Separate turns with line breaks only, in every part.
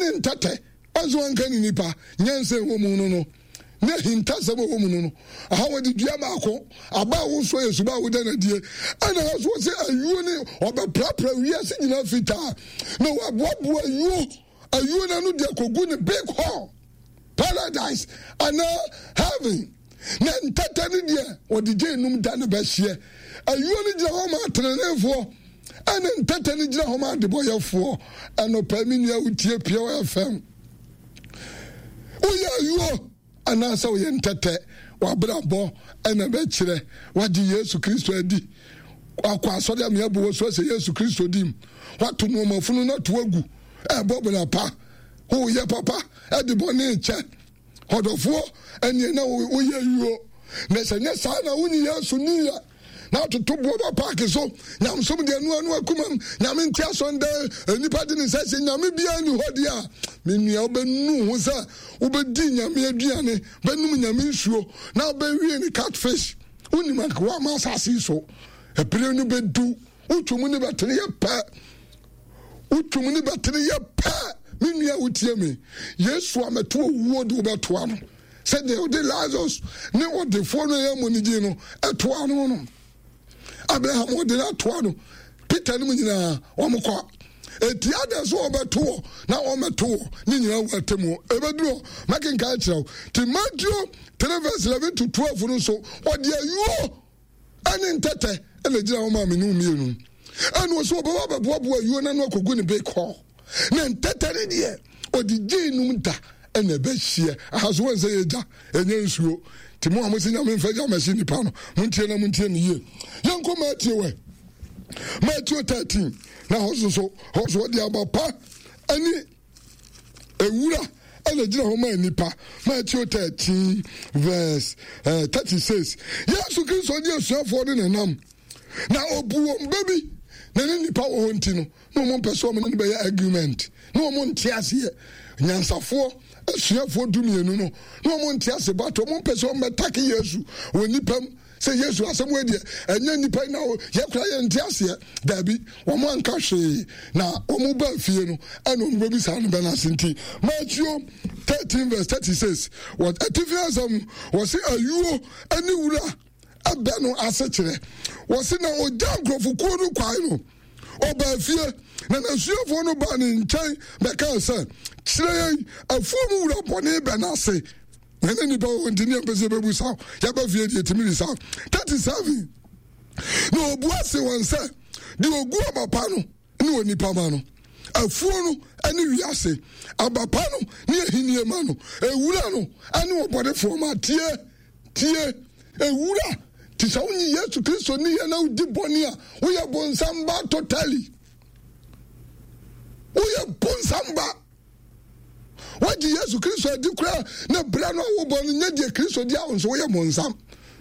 ne ntɛtɛ. Ɔnso wanka ne nipa nyansa ɛwɔ mu no no ne ahintasɛm ɛwɔ mu no no. Aha wɔde dua baako, aba a wosoɔ yɛ suba a woda no adie. Ɛna ha so wɔsɛ ayuo ne ɔbɛprapra wiase nyinaa fitaa na waboaboa ayuo ayuo no ano de akɔgu ne big hall paradise anaa heaven. Na ntɛtɛ no deɛ wɔde gye enum da no bɛhyeɛ. Ayuo no gyina hɔ ma ateneneefoɔ ɛne ntɛtɛ no gyina hɔ ma adebɔyɛfoɔ. Ɛnɔpɛ me nua wotie Pure FM. Woyɛ ayuo anaasɛ woyɛ ntɛtɛ, w'abrabɔ ɛna bɛkyerɛ wagye Yesu Kristo adi. Wakɔ asɔre a meɛbɔ wɔ so sɛ Yesu Kristo dim. Wato nneɛma funu no ato agu. Ɛbɔ bra pa. Woyɛ papa ɛde bɔne kyɛ. Ɔdɔfoɔ, ɛneɛ na woyɛ yuo. Na sɛ nyɛ saa na wonyi Yesu ni yɛ na atoto boɔ ba paaki so nyamesom deɛ ɛno ano akumam nyame nte asɔndɛ nnipa de ne nsa hyɛ nyame biara ni hɔ deɛ a me nua wobɛnu ho sɛ wobɛdi nyame aduane bɛnum nyame nsuo na wobɛwie ne catfish wonim anka woama asase yi so ɛpere no bɛdu wotwom ne bɛtene yɛ pɛ Wotwam ne bɛtene yɛ pɛ. Me nua wotie me. Yesu a mɛto owuo de wobɛtoa no sɛdeɛ ɔde Lazarus ne ɔdefoɔ no ɛyɛ mmɔ ne din no ɛtoa no no. Abraham ɔde no atoa no. Peter no mu nyinaa wɔn kɔ. Eti adɛn so wɔbɛto wɔ na wɔmɛto wɔ ne nyinaa wɔ atemmuo. Ɛbɛduru hɔ mɛkenkan akyerɛ wo. Ti Matthew 3 verse 11 to 12 no nso ɔde ayuo ɛne ntɛtɛ ɛna gyina hɔ maa me ne mmienu ɛna ɔsɛ ɔbɛba bɛboaboa ayuo no ano akɔgu ne bake hɔ na ntɛtɛ ne deɛ ɔde gyee num da ɛna ɛbɛhyeɛ aha so wɔn sɛ yɛ gya ɛnyɛ nsuo nti mo a mo sɛ nyame mfa gya mɛhye nipa no montie na montie ne yie yɛnkɔ Matthew ɛ Matthew 13 na hɔ so so hɔ so ɔde aba pa ɛne Ewura na egyina hɔ ma nnipa. Matthew 13 verse 36. Eh, Yesu Kristo ne asuafoɔ no nenam na obu wɔn bɛ bi na ne nnipa wɔ hɔ nti no na wɔn mpɛ sɛ wɔn ne no bɛyɛ argument na wɔn nte aseɛ nyansafoɔ asuafoɔ dumienu no na wɔn nte ase but wɔn mpɛ sɛ wɔn bɛtake Yesu wɔ nnipa mu Sɛ Yesu asɛm wei deɛ ɛnyɛ nnipa yi na yɛkora yɛn nte aseɛ. Daabi, wɔn anka hwee na wɔn ba fie no ɛna wɔn bɛbisa no bɛn ase nti. Matthew 13 verse 36 wɔ atifi asɛm wɔsi ayuo ne wura ɛbɛ no ase kyerɛ. Wɔsi na ogya nkurɔfokuo no kwan no ɔbaa fie na n'asuafoɔ no baa ne nkyɛn bɛkaa sɛ, kyerɛ yɛn afuo mu wura bɔne bɛ no ase. Na ne nipa wɔ nti ne yɛmpɛ sɛ yɛbɛbu sa yɛba fie deɛ ɛtumi de sa 37 na ɔbua se wɔn sɛ deɛ ɔgu aba pa no ne onipa ma no afuo no ne wiase aba pa no ne ahennie ma no ewura no ne ɔbɔnefoɔ ma tie tie ewura te sɛ wonye Yesu Kristo ni yɛ na wodi bɔne a woyɛ bonsam ba totally woyɛ bonsam ba. Woagye Yesu Kristo adi koraa na berɛ no a wobɔ no nyɛ deɛ Kristo di a wo nso woyɛ bonsam.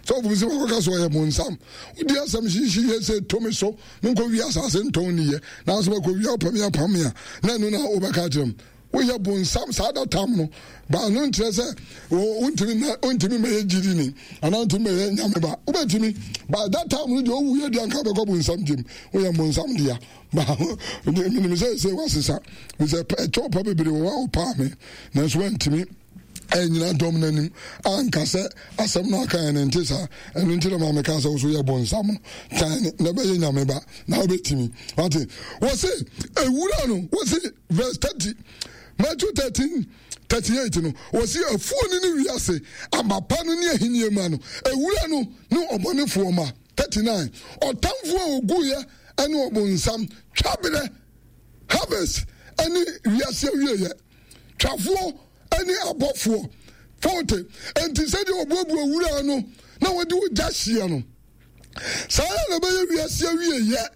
Sɛ wofom sɛ wakɔka sɛ ɔyɛ bonsam. Wodi asɛm hyehye yɛ sɛ to me so menkɔ wie asase ntɔn niyɛ nanso bɛkɔ wie wopɛ me apam me a na ɛno na wobɛka akyerɛ m. Woyɛ bonsam saa da tam no ba no nkyerɛ sɛ wontumi na wontumi mɛyɛ gyidi ni anaa wontumi mɛyɛ nyame ba wobɛtumi ba that time no deɛ ɔwu yɛ deɛ anka bɛkɔ bonsam gyem woyɛ bonsam dea. Menim sɛ sɛ wasesa sɛ ɛkyɛw pa bebree wɔ hɔ a ɔpaa me nanso wantumi ɛnyina dɔm no anim anka sɛ asɛm no aka ɛne nte saa ɛno nti na ma meka sɛ wo so yɛ bonsam no tan ne na ɛbɛyɛ nyame ba na wobɛtumi wate wɔ se ewura no wɔ se verse 30 Matthew 13 38 no wɔ se afuo no ne wiase aba pa no ne ahennie ma no ewura no ne ɔbɔnefoɔ ma 39 ɔtamfoɔ a ɔguiɛ ɛne ɔbonsam twaberɛ harvest ɛne wiase awieɛ twafoɔ ɛne abɔfoɔ 40 enti sɛdeɛ ɔbuabua wura no na wɔde ogya hyeɛ no saa ara na ɛbɛyɛ wiase awieɛ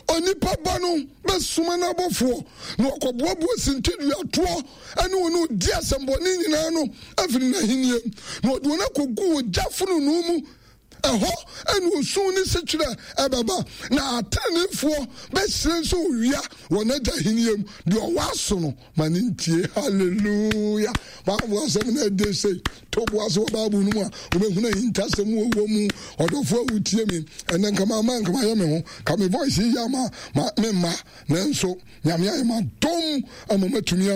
onipa ba no bɛsoma n'abɔfoɔ na wɔkɔboaboa sintiduatoɔ ɛne wɔn a ɔdi asɛmbɔne nyinaa no afiri n'ahennie na ɔde wɔn akɔgu ogya fononoo mu Ɛhɔ na osu ne sekyerɛ bɛba, na ateneneefoɔ bɛhyerɛn sɛ owia wɔ n'Agya ahennie mu. Deɛ ɔwɔ aso no, ma no ntie. Hallelujah! Bible asɛm na ɛde sei. To bo ase wɔ Bible no mu a, wobɛhunu ahintasɛm wɔ wɔ mu. Ɔdɔfoɔ a wotie me, ɛnɛ nka mama nka mayɛ me ho, ka me voice yi yɛ ama ma me mma, nanso Nyame ayɛ m'adom ama matumi.